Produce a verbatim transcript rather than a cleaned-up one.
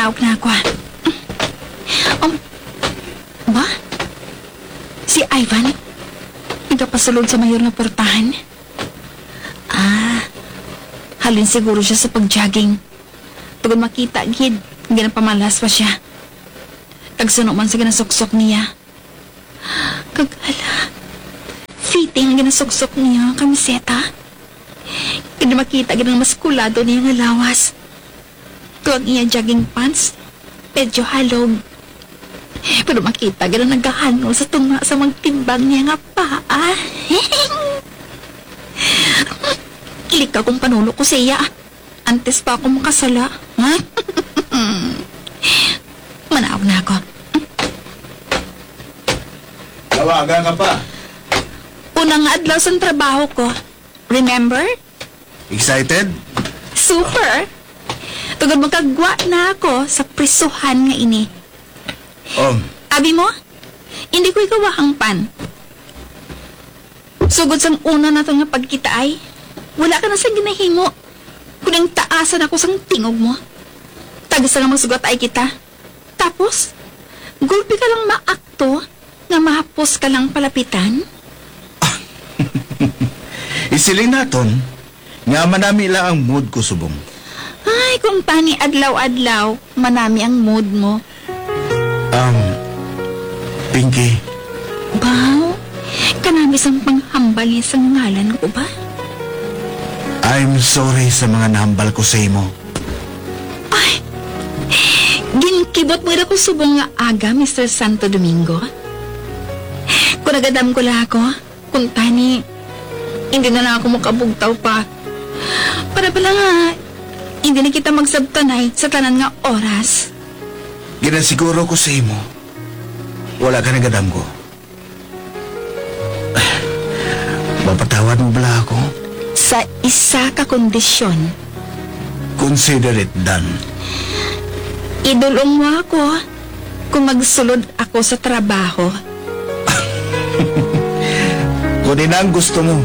Awag na ako, ah. Um, ba? Si Ivan? Nagapasulod sa mayor nga portahan? Ah, halin siguro siya sa pag-jogging. Tungod makita gid, ginapamalas pa siya. Kag suno man sa ginasuksok niya. Kag hala, fitting ang ginasuksok niya nga kamiseta. Kag makita gid ang maskulado niya nga lawas. Kag ang iya jogging pants, medyo halog. Pero makita gid ang nagahangol sa tunga sa magtimbang niya nga paa. Likaw kung panulo ko siya. Antes pa ako makasala. Ha? Manaog na ako. Tawaga ka pa. Unang adlaw sa trabaho ko. Remember? Excited? Super! Tungod makagwa na ako sa prisuhan nga ini. Um. Abi mo, hindi ko ikaw ang pan. Sugod sang una naton nga pagkitaay, wala ka na sa ginahimo. Kuning taasan ako sang tingog mo. Tagsa nga magsugat ay kita. Tapos, gulpi ka lang maakto nga mahapos ka lang palapitan? Isiling naton nga manami lang ang mood ko subong. Ay, kung tani adlaw-adlaw, manami ang mood mo. Um, Pinky. Baw, kanami sang panghambal niya sa ngalan ko ba? I'm sorry sa mga nahambal ko sa imo. Ay, ginkibot mo ira ko subong nga aga, Mister Santo Domingo. Kung nagadam ko lang ako, kung tani, hindi na lang ako makabugtaw pa. Para pala nga, hindi na kita magsabtanay sa tanan nga oras. Ginasiguro ko sa imo, wala ka nagadam ko. Mapatawad mo bala ako? Sa isa ka kondisyon. Consider it done. Idulong mo ako kung magsulod ako sa trabaho. Kung ina ang gusto mo,